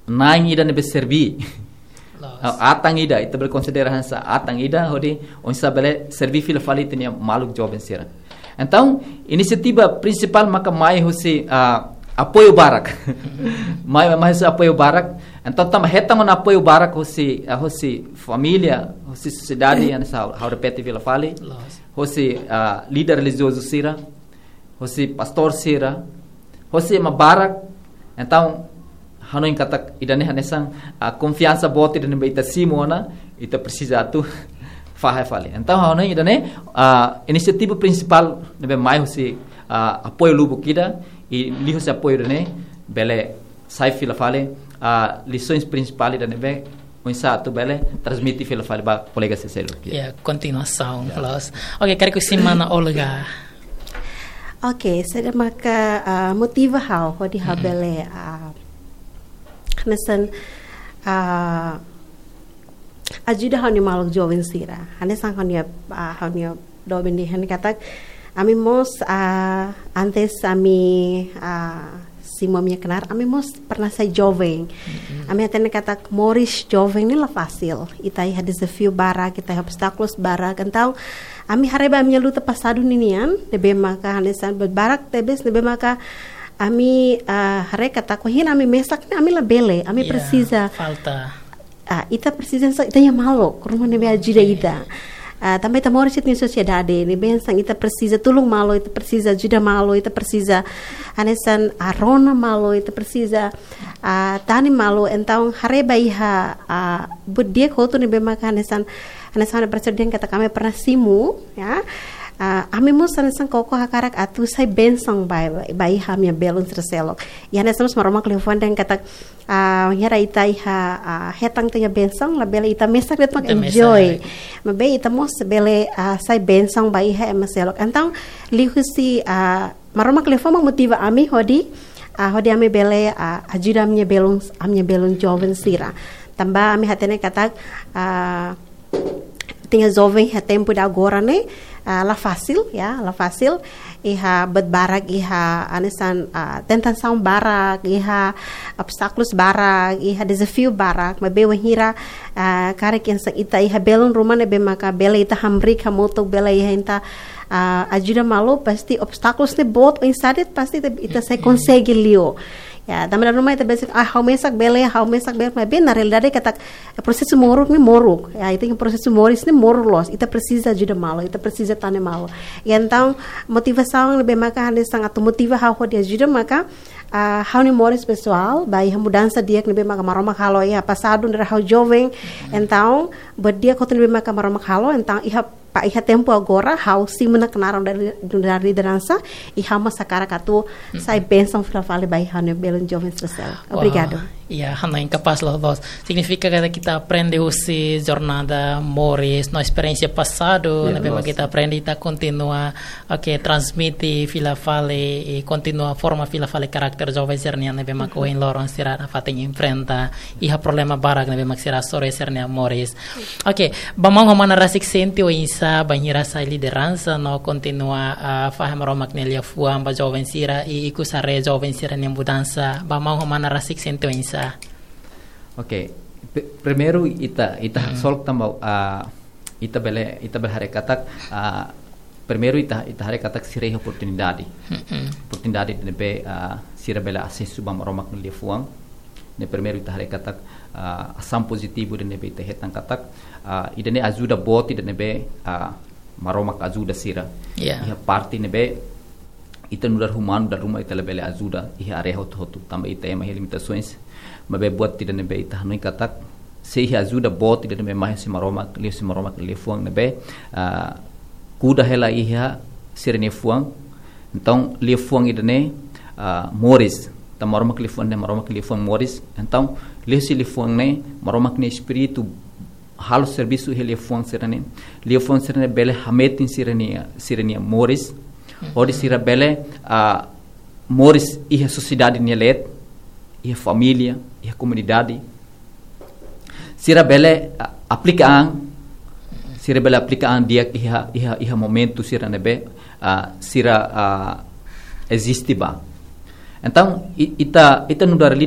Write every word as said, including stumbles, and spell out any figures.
na'in ida ne'ebé serví. Loos. Ah, atan ida, ita bele konsidera hanesan atan ida, hodi oinsá bele serví fila fali ita-nia maluk joven sira. Entaun, inisiativa prinsipál maka mai husi, ah, apoiu barak. Mai, mai husi apoiu barak. Entaun, tanba hetan ona apoiu barak husi, ah, husi família, husi sosiedade, hanesan ha'u repete fila fali. Loos. Husi, ah, líder relijiozu sira, husi pastór sira, husi ema barak. Entaun, hanoin katak ida-ne'e hanesan, ah, konfiansa boot ida ne'ebé ita simu ona, ita presiza atu fahe fali. Entaun, hanoin ida-ne'e, ah, inisiativa prinsipál ne'ebé mai husi, ah, apoiu lubuk ida, i liuhusi apoiu ida-ne'e, bele sai fila fali, ah, lisaun prinsipál ida ne'ebé oinsá atu bele transmite fila fali ba kolega sira seluk. Ya, kontinuasaun, ya. Loos. Oke, karik husi mana Olga? Oke, saida maka, ah, motiva ha'u, hodi ha'u Mm-mm. bele, ah, hanesan, ah, ajuda ha'u-nia maluk joven sira. Hanesan ha'u-nia, ah, ha'u-nia doben dehan katak, ami mós, ah, antes ami, ah, simu ami-nia knaar, ami mós pernah sai joven. Mm-mm. Ami hatene katak moris joven ne'e la fasil. Ita iha dezafiu barak, ita iha obstákulus barak. Entaun, ami haree ba ami-nia luta pasadu ninian, ne'ebé maka hanesan buat barak tebes, ne'ebé maka ami, ah, haree katak, wainhira ami mesak ne'e, ami labele, ami Ya, presiza. Falta. Ah, ita presiza hanesan ita-nia maluk, ruma ne'ebé ajuda Oke. ita. Ah, tanba ita moris iha sosiedade, ne'ebé hanesan ita presiza tulun malu, ita presiza ajuda malu, ita presiza hanesan, ah, rona malu, ita presiza, ah, tane malu. Entaun, haree ba iha, ah, buat di'ak hotu ne'ebé maka hanesan, hanesan ha'u-nia prezidente katak ami pernah simu, ya. Ah, ami mós hanesan koko hakarak atu sai bensaun ba, ba iha ami-nia belun sira seluk. Ya, hanesan mós Maromak liafuan dehan katak, ah, wainhira ita iha, ah, hetan ita-nia bensaun, labele ita mesak de'it mak Ita mesak. Enjoy. Maibé ita mós bele, ah, sai bensaun ba iha ema seluk. Entaun, liuhusi, ah, Maromak liafuan mak motiva ami hodi, ah, hodi ami bele, ah, ajuda ami-nia belun, ami-nia belun joven sira. Tanba ami hatene katak, ah, ita-nia joven iha tempu ida agora ne'e, ah, la fasil, ya, la fasil. Iha buat barak, iha hanesan, ah, tentasaun barak, iha obstákulus barak, iha dezafiu barak. Maibé wainhira, ah, karik hanesan ita iha belun ruma ne'ebé maka bele ita hamriik hamutuk, bele iha ita, ah, ajuda malu, pasti obstákulus ne'e boot oinsá de'it, pasti ita, ita sei Mm-mm. konsege liu. Ya, tanba dala ruma ita besik, ah, ha'u mesak bele, ha'u mesak bele, maibé na realidade katak prosesu moruk ne'e moruk. Ya, ita-nia prosesu moris ne'e moruk loos. Ita presiza ajuda malu, ita presiza tane malu. Ya, entaun, motivasaun ne'ebé maka hanesan atu motiva ha'u hodi ajuda maka, ah, ha'u-nia moris pesoál, ba iha mudansa di'ak ne'ebé maka Maromak halo iha pasadu ne'e ha'u joven. Entaun, buat di'ak hotu ne'ebé maka Maromak halo, entaun iha pa iha tempu agora, ha'u simu ona knaar nu'udar, nu'udar lideransa, i ha'u mós hakarak atu sai bensaun fila fali ba iha ha'u-nia belun joven sira seluk. Obrigadu. Wah, ya, hanoin kapás loos, loos. Signifika katak ita aprende husi jornada moris, no esperiénsia pasadu, Ya, ne'ebé loos. Mak ita aprende, ita kontinua, oke, transmite fila fali, i kontinua forma fila fali karakter joven sira-nian, ne'ebé mak Uhum. ohin loron sira nafatin enfrenta, iha problema barak ne'ebé mak sira hasoru iha sira-nia moris. Oke, ba maun ho mana rasik sente oinsá, bainhira sai lideransa no kontinua, ah, fahe Maromak nia liafuan ba joven sira, i ikus haree joven sira-nia mudansa, ba maun ho mana rasik sente oinsá? Oke, pe-, primeiru ita, ita Mm. solok tanba, ah, ita bele, ita bele haree katak, ah, primeiru ita, ita haree katak sira iha oportunidade. Mm-mm. Oportunidade ne'ebé, ah, sira bele asesu ba Maromak nia liafuan. Ne'e primeiru ita haree katak, ah, asaun pozitivu ida ne'ebé ita hetan katak, ah, ida-ne'e ajuda boot ida ne'ebé, ah, Maromak ajuda sira. Ya. Iha parte ne'ebé ita nu'udar umanu dala ruma ita labele ajuda iha área hotu-hotu, tanba ita ema iha limitasoens. Maibé buat ida ne'ebé ita hanoin katak, se iha ajuda boot ida ne'ebé mai husi Maromak, liuhusi Maromak nia liafuan ne'ebé, ah, kuda hela iha sira-nia fuan. Entaun, liafuan ida-ne'e, ah, moris. Tanba Maromak nia liafuan ne'e, Maromak nia liafuan moris. Entaun, liuhusi liafuan ne'e, Maromak nia Espíritu halo servisu iha liafuan sira-ne'e. Liafuan sira-ne'e bele hametin sira-nia, sira-nia moris. Hodi sira bele, ah, moris iha sosiedade nia leet, iha família, iha komunidade. Sira bele, ah, aplika an, sira bele aplika an di'ak iha, iha, iha momentu sira ne'ebé, ah, sira, ah, eziste ba. Entaun, i-, ita, ita nu'udar líder